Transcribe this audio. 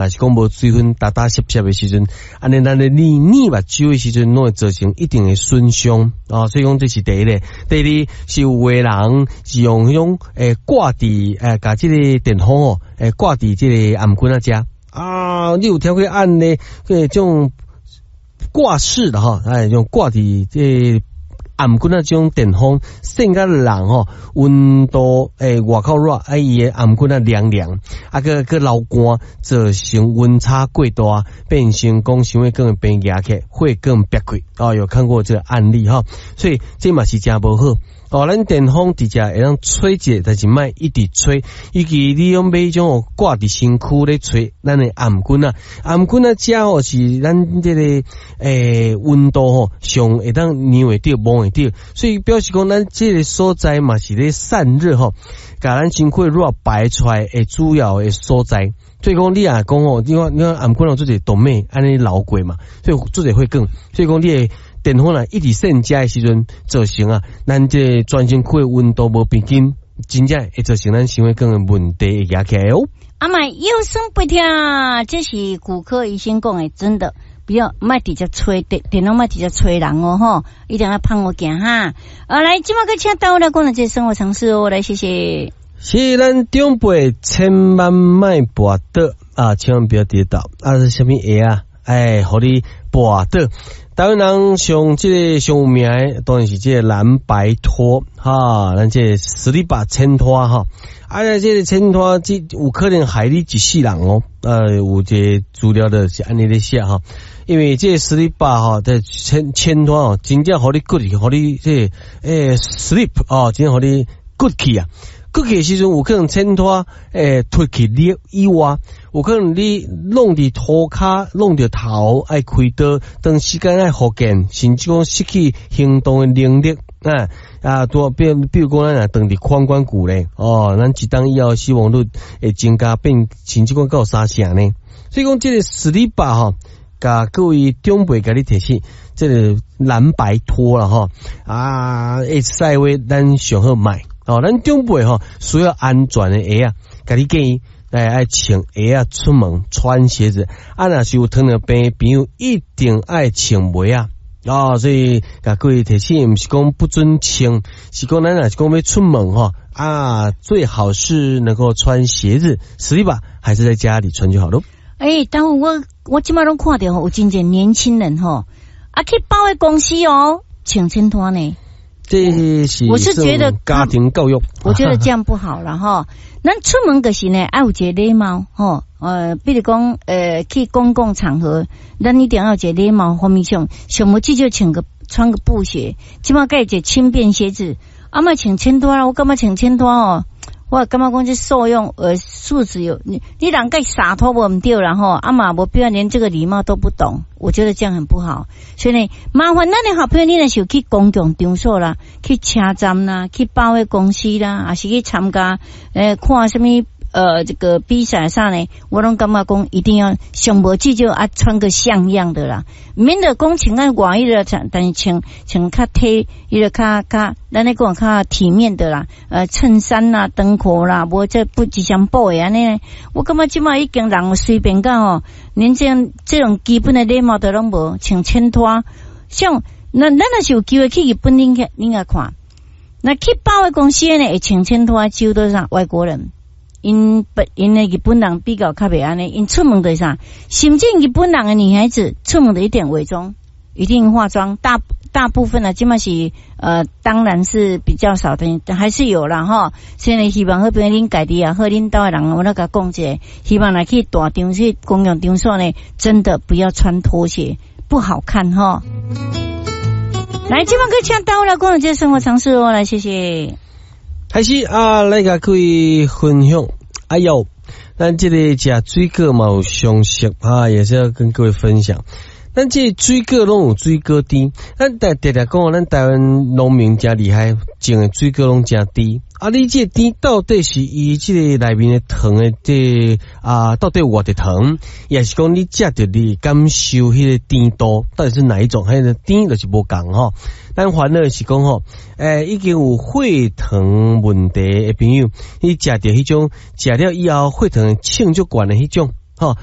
若是講無水分，焦焦澀澀的時陣，按呢咱咧捏捏目睭的時陣，攏會造成一定的損傷哦。所以講這是第一个，第二是有的人是用彼種掛佇共這個電風哦，掛佇這個頷頸仔遮啊，你有聽過按呢？這種掛飾的哈，哎，用掛佇這個頷頸仔這種電風，扇共人吼溫度外口熱，啊伊的頷頸仔涼涼，啊閣閣流汗，造成溫差過大，變成講心血管的病壓起來，血管煏開哦，有看過這個案例哈，所以這嘛是誠無好。哦，咱電風直接會當吹者，但是莫一直吹，尤其你用買彼種掛佇身軀咧吹，咱的頷頸仔，頷頸仔遮吼是咱這個溫度吼上會當量會著、摸會著，所以表示講咱這個所在嘛是咧散熱吼，共咱身軀熱排出來的主要的所在。所以講你若講吼，你看頷頸有足濟動脈按呢流過嘛，所以足濟血管，所以講你的電風若一直扇遮的時陣，造成啊，咱這個全身軀的溫度無平均，真正會造成咱心血管的問題會惹起來哦。啊莫腰酸背痛，這是骨科醫生講的，真的不要莫直接吹電電風，莫直接吹人哦吼，一定要芳好行哈。啊，來，這馬閣請導來講的這生活常識哦，來謝謝。是咱長輩千萬莫跋倒啊，千萬不要跌倒啊！是啥物鞋啊？哎，予你跋倒。台灣人上這個上有名的，當然是這個藍白拖哈，咱這個スリッパ淺拖哈。啊，這個淺拖這有可能害你一世人哦。有這個資料的是按呢咧寫哈，因為這個スリッパ哈，這淺淺拖哦，真正予你骨去，予你這個slip 哦，真正予你骨去啊。骨去的時陣有可能淺拖脫去你以外，有可能你弄佇塗跤，弄著頭，愛開刀，長時間愛復健，甚至講失去行動的能力。啊啊，多比如講，咱若斷佇髖關骨咧，哦，咱一冬以後死亡率會增加變，甚至講到三成呢。所以講，這個スリッパ吼，共各位長輩共你提醒，這個藍白拖啦吼，啊，會使話咱上好莫。哦，咱長輩吼需要安全的鞋仔，共你建議來愛穿鞋仔出門，穿鞋子。啊，若是有糖尿病的朋友，一定愛穿襪仔。哦，所以共各位提醒，毋是講不准穿，是講咱若是講欲出門吼，啊，最好是能夠穿鞋子，スリッパ還是在家裡穿就好咯。欸，但我這馬攏看著吼，有真濟年輕人吼，啊去百貨公司哦，穿淺拖呢。這是我是覺得家庭教育，我覺得這樣不好了哈。咱出門就是呢，愛有一個禮貌吼。比如講，去公共場合，咱一定要有一個禮貌方面上，上無至少穿個布鞋，這馬蓋一個輕便鞋子，啊莫穿淺拖啦，我感覺穿淺拖哦，我感覺講這素養素質有你人蓋灑脫無毋對啦吼，啊嘛無必要連這個禮貌都不懂，我覺得這樣很不好。所以呢，麻煩咱的好朋友，你若是有去公共場所啦，去車站啦，去百貨公司啦，抑是去參加看啥物這個比賽啥呢？我攏感覺講一定要上無至少啊穿個像樣的啦，免得講穿啊外彼個穿，但是穿穿較體，彼個較較，咱咧講較體面的啦，襯衫啦、長褲啦，無這不一雙布的按呢。我感覺這馬已經人隨便到吼，連這樣這種基本的禮貌都攏無，穿淺拖。像咱咱若是有機會去日本，恁去恁來看，那去百貨公司呢，會穿淺拖，幾乎都是啥外國人。𪜶本𪜶的日本人比較較袂按呢，𪜶出門就是啥，甚至日本人的女孩子出門都一定偽裝，一定化妝，大大部分呢，這馬是當然是比較少的，還是有啦吼。所以希望好朋友恁家己也好，恁兜的人，我來共講一下，希望來去大場去公共場所呢，真的不要穿拖鞋，不好看吼。來，這馬閣請導來講這生活常識哦，來謝謝。開始啊，來共各位分享。哎喲，咱這個食水果嘛有常識啊，也是要跟各位分享。咱這個水果攏有水果甜，咱台常常講，咱台灣農民誠厲害，種的水果攏誠甜。啊，你這個甜到底是伊這個內面的糖的這個啊，到底有偌濟糖？抑是講你食著你感受彼個甜度，到底是哪一種？彼個甜就是無仝吼。咱煩惱是講吼，已經有血糖問題的朋友，你食著彼種食了以後血糖衝足懸的彼種。吼啊。